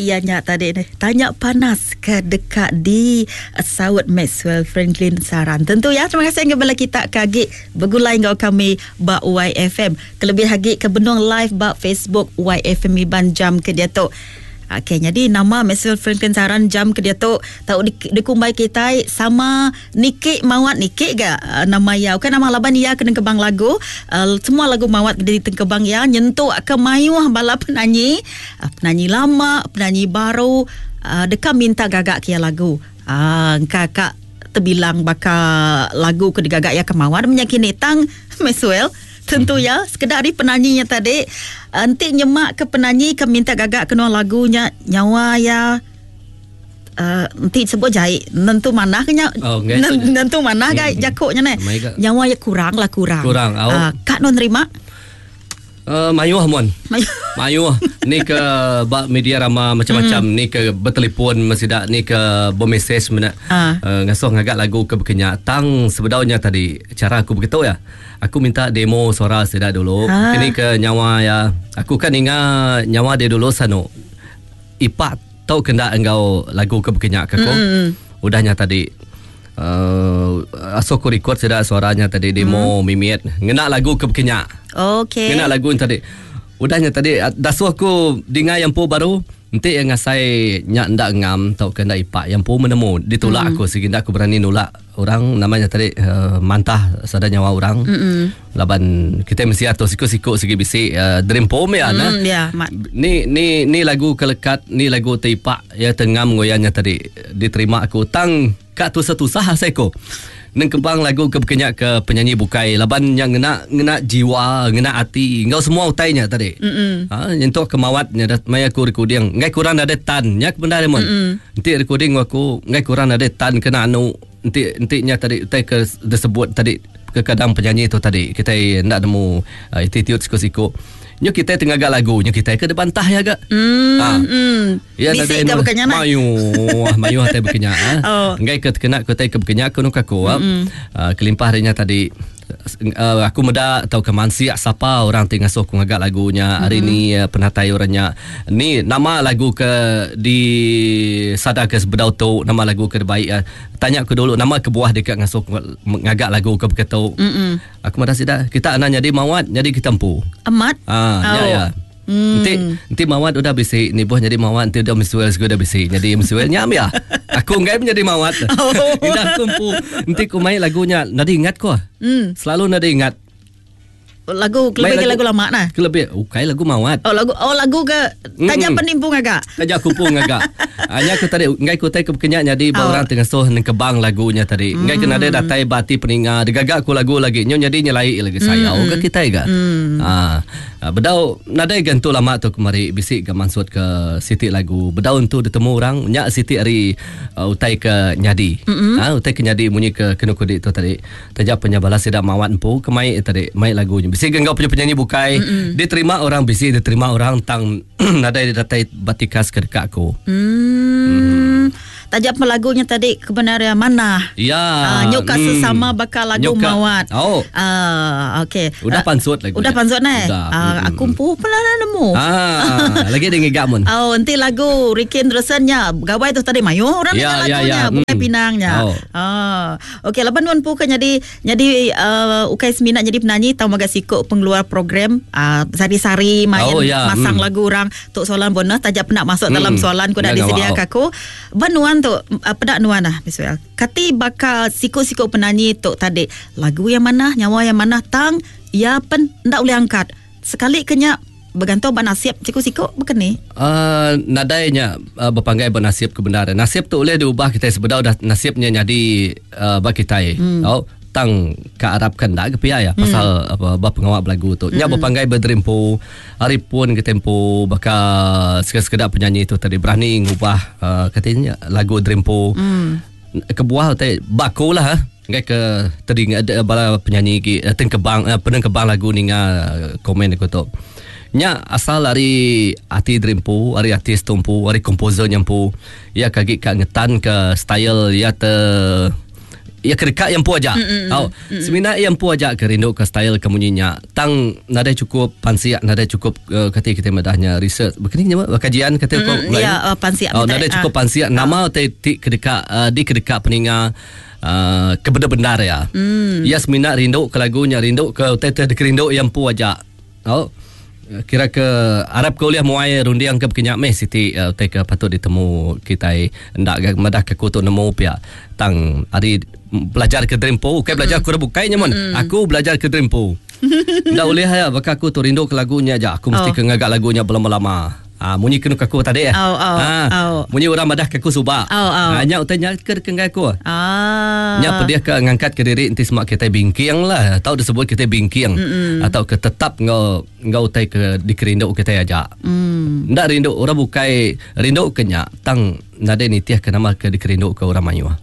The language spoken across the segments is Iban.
Iya nya tadi nih. Tanya panas ke deka di saut Maxwell Franklin Saran. Tentu ya. Terima kasih enggau bala kita ke agi begulai enggau kami ba YFM. Kelebih agi ke benung live ba Facebook YFM Iban jam ke diatu. Okey, nyadi nama Maxwell Franklin Saran jam ke diatu tau dikumbai kitai sama niki mawat niki ga eh, nama iya. Bukan nama laban iya ke nengkebang lagu. Uh, semua lagu mawat ditengkebang iya nyentuk ke mayuh bala penanyi Penanyi lama, penanyi baru deka minta gaga ke iya lagu. Engka ka tebilang baka lagu ke digaga iya ke mawar menya kini tang Maxwell tentu iya sekeda ari penanyi nya tadi enti nyema ke penanyi ke minta gaga ke nuan lagu nya nyawa iya enti sebut jai nentu manah ke nya oh, nentu manah ga jaku nya neh nyawa iya kurang lah kurang. Kurang au. Ka nuan nerima? Uh, mayuh mon. Mayuh. Ni ke ba media rama macam-macam mm. ni ke bertelefon mesida ni ke bermesej mena uh. Uh, ngasuh ngagak lagu ke bekenya tang sebedaunya tadi cara aku begitu ya. Aku minta demo suara sida dulu. Uh. Kini ke nyawa ya. Aku kan ninga nyawa dia dulu sanu. Ipak tau kena enggau lagu ke bekenya ke aku. Mm. Udahnya tadi uh, asuh aku record sida suaranya tadi demo mm. mimit ngena lagu ke bekenya. Okey. Ngena lagu tadi. Udahnya tadi dasuh aku dinga yang pu baru enti yang ngasai nya ndak ngam tau ke ndak ipak yang pu menemu ditolak mm. aku sigi ndak aku berani nolak orang namanya tadi uh, mantah sada nyawa orang mm-hmm. laban kita mesti atur siku-siku sigi bisi uh, dream poem ya mm, nah yeah, ni ni ni lagu kelekat ni lagu teipak ya tengam ngoyanya tadi diterima aku tang ka tusah-tusah asai ko nengkebang lagu ke bekenya ke penyanyi bukai laban yang ngena ngena jiwa ngena ati enggau semua utainya tadi mm ha nyentuk ke mawat nya maya aku recording ngai kurang ada tan nya ke bendar mon enti recording aku ngai kurang nadai tan kena anu enti enti nya tadi utai ke disebut tadi kekadang penyanyi tu tadi kitai enda nemu uh, attitude siku-siku nyu kitai tengaga lagu nyu kitai ke dibantah ya ga mm, ha. mm. Ya, Bisi ke bekenya nah? Mayuh, mayuh tai bekenya. Ah. Oh. Enggai ke kena ke tai ke bekenya aku nuka aku. Mm. Uh, kelimpah ari nya tadi uh, aku meda tauka mansik sapa orang ti ngasuh aku ngaga lagu nya hari mm-hmm. ni uh, penatai orang nya ni nama lagu ke di sada ke sebedau tu nama lagu ke baik uh, tanya aku dulu nama kebuah deka ngasuh aku ngaga lagu ke begitu mm-hmm. aku madah sida kita anak jadi mawat jadi kita empu amat ah oh. ya ya Hmm. Enti enti mawat udah bisi ni boh jadi mawat enti udah misuel segu udah bisi jadi misuel nyam ya. Aku enggai menjadi mawat. Oh. Indah aku empu enti ku mai lagu nya nadi ingat ko. Hmm. Selalu nadi ingat. Lagu kelebih lagu, lagu lama nah. Kelebih ukai lagu mawat. Oh lagu oh lagu ke taja mm. penimpu ngaga. Taja aku pun ngaga. Hanya aku tadi enggai ku tai ke bekenya jadi ba oh. orang tengah nengkebang lagunya tadi. Enggai mm. kena ada datai bati peninga digaga aku lagu lagi nyo jadi nyelai lagi sayau mm. ke kitai ga. Mm. Ah bedau nadai ga entu lama tu kemari bisi ga mansut ke siti lagu bedau entu ditemu orang nya siti ari uh, utai ke nyadi. Mm-hmm. Ha, utai ke nyadi munyi ke kenu kudi tu tadi. Taja penya bala sida mawat empu ke mai tadi mai lagu nya. Bisi ga enggau penyanyi bukai mm-hmm. diterima orang bisi diterima orang tang nadai datai batikas ke deka aku. Mm. Mm. Taja pun lagunya tadi kebenaran manah. Ya. Uh, nyuka hmm. sesama bakal lagu nyuka. mawat. Oh. Uh, okey. Udah uh, pansut lagu. Udah pansut neh. Uh, hmm. aku empu pernah nemu. Ah, lagi dia ngigak mun. Oh, enti lagu Ricky Anderson nya gawai tu tadi mayuh orang ya, dengar lagunya, ya, ya. bukan pinangnya. Oh. Ah. Okey, laban nuan empu ke nyadi nyadi uh, ukai semina nyadi penyanyi tau mega siku pengeluar program uh, sari-sari main oh, ya. masang lagu orang tu soalan bonus taja pernah masuk hmm. dalam soalan ku dah disedia ke aku. Ba nuan tu peda nuan lah Miswell. Kati baka siku-siku penanyi tu tadi lagu yang mana nyawa yang mana tang ya pen ndak boleh angkat. Sekali ke nya bergantung ba nasib siku-siku bukan ni? Uh, nadai nya uh, berpanggai ba nasib ke bendar. Nasib tu boleh diubah kita sebedau dah nasibnya nyadi uh, ba kitai. Hmm. Oh, tang ka arapkan dak ke pia ya pasal apa ba pengawa belagu tu. Nya berpanggai berderimpu hari pun ke tempo baka sekeda-sekeda penyanyi tu tadi berani ngubah uh, katanya lagu derimpu. Hmm. Kebuah te baku lah ha. Ngai ke tadi ada bala penyanyi ki tengkebang penengkebang lagu ninga komen aku tu. Nya asal ari ati derimpu, ari artis tu empu, ari komposer nya empu. Iya ke agi ka ngetan ke style iya te. Iya ke deka iya empu aja. Au. Semina iya empu aja ke rindu ke style ke munyi nya. Tang nadai chukup pansik, nadai chukup uh, kati kitai madah nya research. Bekeni nya kajian kati ko. Ya, pansik. Oh, nadai chukup pansik nama ti ti ke deka uh, di ke deka peninga uh, ke benar-benar ya. Iya semina rindu ke lagu nya, rindu ke utai ti dikerindu iya empu aja. Au. Kira ke arap ke ulih muai runding ke bekenya meh siti uh, utai ke patut ditemu kitai enda ga madah ke aku tu nemu pia tang ari belajar ke diri empu ukai belajar mm. bukai nya mun mm. aku belajar ke diri empu enda ulih ya baka aku tu rindu ke lagu nya aja aku mesti oh. ke ngaga lagu nya belama-lama. Ah munyi kenu ke aku tadi eh. Oh, oh, ah, oh. Munyi orang madah ke aku suba. Oh, oh. Ah, nya utai nya ke kenggai aku. Ah. Nya pedih ke ngangkat ke diri enti semak kitai bingking lah atau disebut kitai bingking Mm-mm. atau ke tetap enggau enggau utai ke dikerindu kitai aja. Mm. Enda rindu orang bukai rindu ke nya tang nadai nitih ke nama ke dikerindu ke orang mayuh.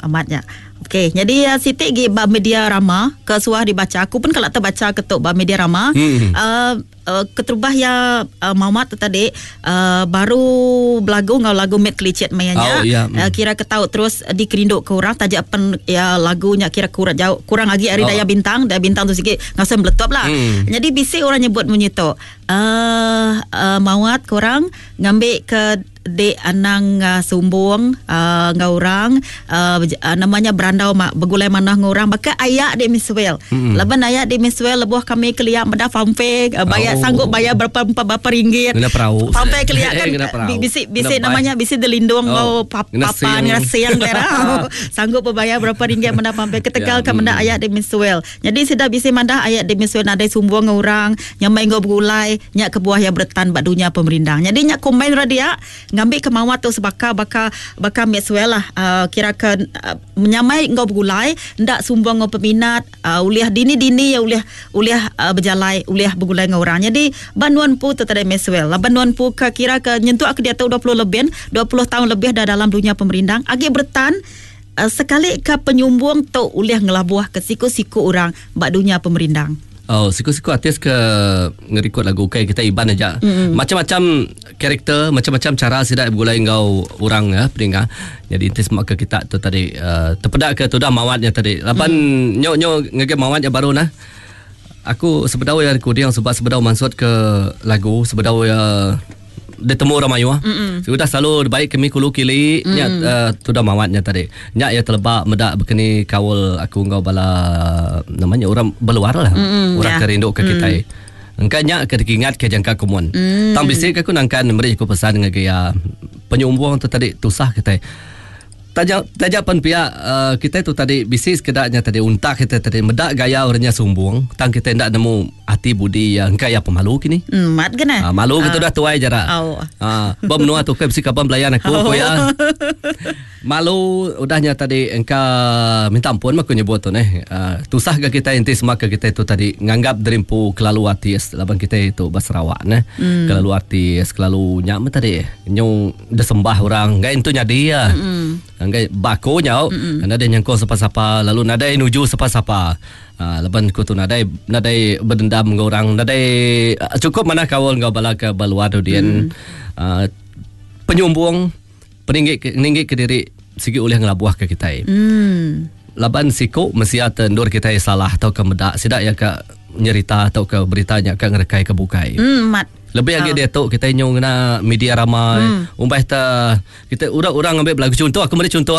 Amat nya. Okey, jadi siti gi ba media rama ke suah dibaca aku pun kala terbaca ke tu ba media rama. Keterubah iya Mawat tu tadi uh, baru belagu enggau lagu Mit Kelicit maya nya. Oh, iya. Kira ke tau terus dikerindu ke orang taja pen ya lagu nya kira kurang jauh kurang agi ari Daya Bintang. Daya Bintang tu sigi ngasuh meletup lah. Jadi bisi orang nyebut munyi tu. Mawat korang ngambi ke Dek anang sumbung enggau orang nama nya berandau begulai manah enggau orang baka aya dek Miswell. Laban aya dek Miswell lebuh kami kelia meda fanfare bayar sanggup bayar berapa berapa ringgit. Ngena perau. Fanfare kelia kan bisi bisi nama nya bisi dilindung enggau papan ngena sing sanggup bebayar berapa ringgit meda fanfare ketegal ka meda aya dek Miswell. Nyadi sida bisi madah ayat di Miswell nadai sumbung enggau orang, nyamai enggau begulai, nya kebuah iya beretan ba dunya pemerindang. Nyadi nya komen ra dia ngambika mawat tu sebaka baka baka Maxwell lah uhh kira ke menyamai enggau begulai enda sumbung enggau peminat uhh ulih dini-dini iya ulih ulih uhh bejalai ulih begulai enggau orang. Nyadi ba nuan empu tu tadi Maxwell laban nuan empu ke kira ke nyentuk ke diatu 20 lebih 20 taun lebih dah dalam dunya pemerindang agi beretan. Sekali ka penyumbung tu ulih ngelabuh ke siku-siku orang ba dunya pemerindang. Oh, siku-siku artis ke ngerikod lagu ukai kitai Iban aja. Mm-hmm. Macam-macam karakter, macam-macam cara sida begulai enggau orang ya, peninga. Jadi enti sema ke kita tu tadi uh, tepeda ke tudah mawat nya tadi. Laban mm. nyo nyo ngagai mawat nya baru nah. Aku sebedau ya recording sebab sebedau mansut ke lagu sebedau ya ditemu orang mayuh. Mm-mm. Sudah selalu baik kami kulu kili mm. nya uh, tudah mawat nya tadi. Nya ya teleba meda bekeni kaul aku enggau bala namanya orang beluar lah. Mm-mm, orang yeah. ke rindu ke mm. kitai. Engka nya ke dikingat ke jangka kumun. Mm. Tang bisi ke aku nangkan meri aku pesan ngagai ya penyumbung tu tadi tusah kitai. Taja taja pen pia uh, kitai tu tadi bisi sekeda nya tadi untak kitai tadi meda gaya orang nya sumbung tang kitai enda nemu ati budi iya engka iya pemalu kini. Hmm, mat kena. Uh, malu uh, kita dah tuai jara. Oh. Uh, ba menua tu ke bisi kaban belayan aku oh. ko iya. Malu udah nya tadi engka minta ampun mah aku nyebut tu neh. Uh, tusah ga kitai enti sema ke kitai tu tadi nganggap diri empu kelalu artis laban kitai tu ba Sarawak neh. Mm. Kelalu artis, kelalu nya meh tadi. Nyu Disembah orang enggai entu nyadi iya. Enggai ba aku nyau nadai nyangkung sapa-sapa lalu nadai nuju sapa-sapa. Uh, laban aku tu nadai nadai berdendam enggau orang, nadai uh, cukup manah kaul enggau bala ke ba luar tu dian. Uh, penyumbung peninggi ninggi ke diri sigi ulih ngelabuh ke kitai. Mm. Laban siku mensia te endur kitai salah tauka meda sida iya ka nyerita tauka berita nya ka ngerekai ke bukai. Mm, mat. Lebih agi diatu kitai nyu ngena media rama. Mm. Umbah te kita orang-orang ngambil belagu contoh aku meri contoh.